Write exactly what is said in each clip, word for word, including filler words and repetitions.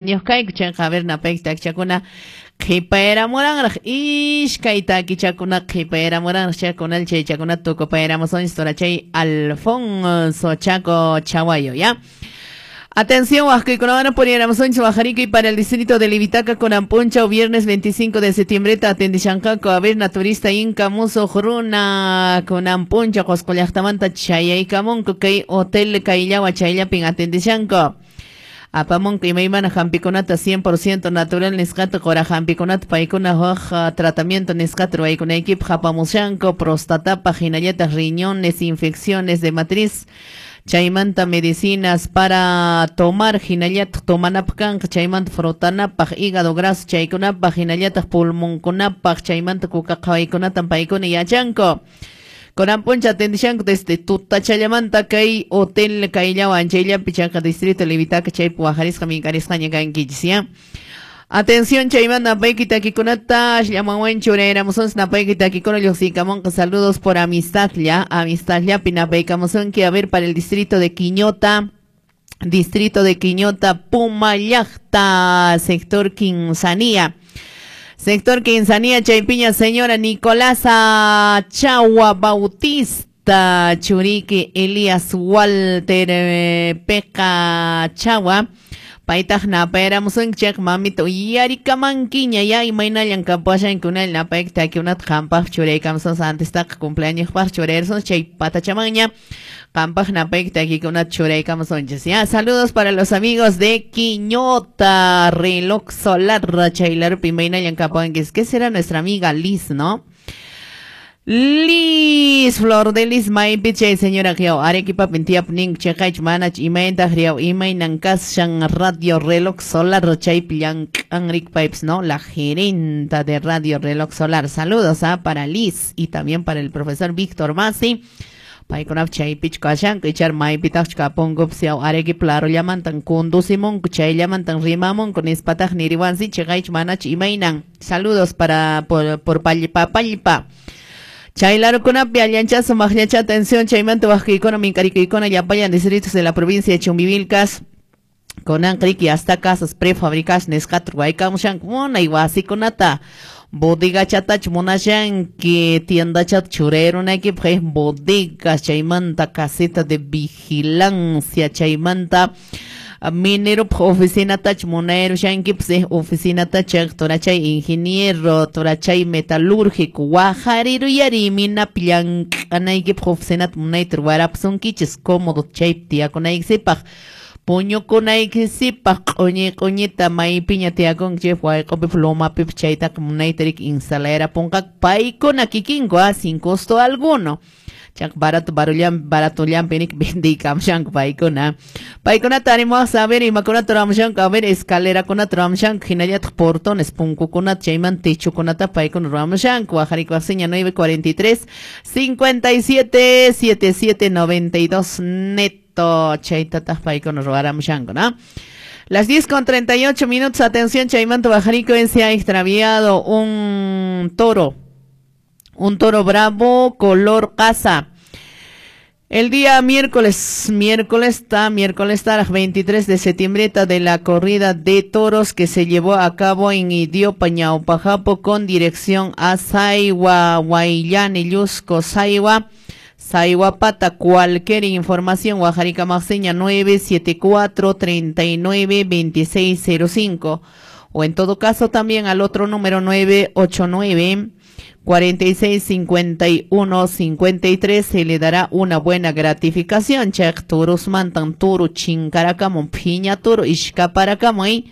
Ñuqayku chayqa a ver napayki takichakuna qhipayramuranraq iskay takichakuna qhipayramuranraq chaykunal chaychakuna tukupayramusunchis turachay Alfonso Chaco Chaguayo, ¿ya? Atención, huascaykunawan puriyaramusunchis wajarikuy para el distrito de Livitaca con Ampuncha, viernes veinticinco de septiembre, atendishanqaku a ver naturista Inca Muso Runa con Ampuncha, Qosqo llaqtamanta chayaykamunku kay hotel Kayllawa chayllapin atendishanku. Apamunku imaymana hampikunata cien por ciento natural nisqata qura hampikunata paykuna huk tratamiento nisqata ruwaykunaykipaq apamushanku prostatapaq hinallataq riñones, infecciones de matriz, chaymanta medicinas para tomar hinallataq tomanapaq kanqa chaymanta frotanapaq hígado graso chaykunapaq hinallataq pulmonkunapaq chaymanta kuka qhawaykunatan paykuna yachanku. Konampuncha atendishanku desde tutachallamanta kay hotel Kayllawa anchayllapi chayqa distrito Livitaca chaypi wajarisqa minkarisqaña kankichis, ¿ya? Atención chaymanta napayki takikunata llamanwan churayramusunchis napayki takikuna lluqsiykamunqa saludos por amistad ya, amistad llapi napaykamusunki a ver para el distrito de Quiñota, distrito de Quiñota, Pumallaqta, sector Quinzanía. Sector Quinzanía, Chaypiña, señora Nicolasa Chagua Bautista, Churique, Elías Walter eh, Peca Chagua, Paytaq napayramusunki chayqa mamita uyarikamankiña ya imaynallan kapuashanki napayki takikunata qampaq churaykamusunchis antistaqa cumpleañospaq churayrasunchis chay patachamanña qampaq napayki takikunata churaykamusunchis ya. Saludos para los amigos de Quiñota, Reloj Solar, chaylarupi imaynallan kapuankichis. ¿Qué será nuestra amiga Liz, no? Liz, Flor de Liz, maypi chay señora riaw Arequipa tiyapnin chaqaychu manach imayntaq riaw imaynan kashan Radio Reloj Solar chaypi llank'anrik paypis, ¿no? La gerenta de Radio Reloj Solar. Saludos ¿ah? para Liz y también para el profesor Víctor Masi. Paykunap chaypichu kashanku ichar maypitaqchu kapunkupis yaw Arequipa larullamantan conducimunku chayllamantan rimamunku nispataq niriwansi chaqaychu manach imaynan. Saludos para por, por pallpa pallpa. Chaylarukunapi allanchazo maqllacha atención chaymanta waqkuykuna minkarikuykuna llapallan distritos de la provincia de Chumbivilcas kunanqa hasta casas prefabricadas nisqata ruwaykamushanku munay wasikunata bodegachatachu munashanki tiendachata churayrunaykipaq bodegas chaymanta caseta de vigilancia chaymanta mineropaq oficinatachu munayrushankipis oficinata chayqa turachay ingeniero turachay metalúrgico wajariruyari minapi llank'anaykipaq oficinata munayta ruwarapusunkichis cómodo chaypi tiyakunaykisipaq puñukunaykisipaq q'uñi q'uñita maypiña tiyakunki chaypi wayq'upipas lomapipas chaytaqa munayta riki instalayrapunqaku paykuna kikinku ah sin costo alguno. Chaq barato barullan baratullanpi nik vendiykamushanku paykuna. Paykunata animawaq saber imakunata ruwamushanku a ver escalerakunata ruwamushanku hinallataq portones punkukunata chaymanta techokunata paykuna ruwamushanku wajarikuwaqsiña nueve cuarenta y tres cincuenta y siete setenta y siete noventa y dos neto chaytataq paykuna ruwaramushanku, ¿no? Las diez con treinta y ocho minutos, atención chaymanta wajariko se ha extraviado un toro. Un toro bravo color casa. El día miércoles, miércoles está, miércoles está, veintitrés de septiembre de la corrida de toros que se llevó a cabo en Idiopa, Ñaupajapo, con dirección a Saigua, Guayllani, Llusco, Saigua, Saiguapata. Cualquier información, Guajarica Maxeña, nueve siete cuatro, treinta y nueve, veintiséis cero cinco. O en todo caso también al otro número nueve ocho nueve, cuarenta y seis, cincuenta y uno, cincuenta y tres se le dará una buena gratificación. Chaq turus mantan turu chinkarakamun piña turu ishkaparakamun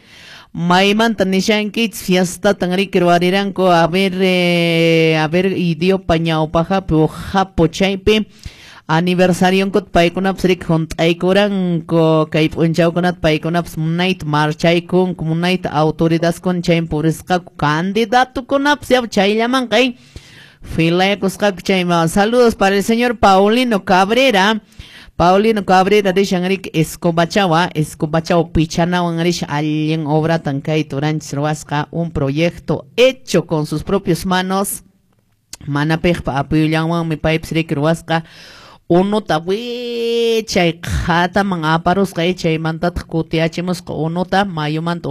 maymantan nishankich fiesta tan riki ruwariranku a ver eh, a ver idiopa ñawpajapi o japo chaypi aniversarionkut paykunapas riki hunt'aykuranku kay p'unchawkunata paykunapas munayta marchaykunku munayta autoridadkuna chaymi purisqaku candidatukunapas ya chayllamanqa filayakusqaku chayman. Saludos para el señor Paulino Cabrera. Paulino Cabrera rishan riki Escobachawa, Escobachawa pichanawan risha allin obratan kay turanchis ruwasqa un proyecto hecho con sus propias manos. Mana piqpa apuyullanwanmi paypis riki ruwasqa Unuta wichay qhataman aparusqa, chaymantataq kutiyachimusqa unuta mayumanta.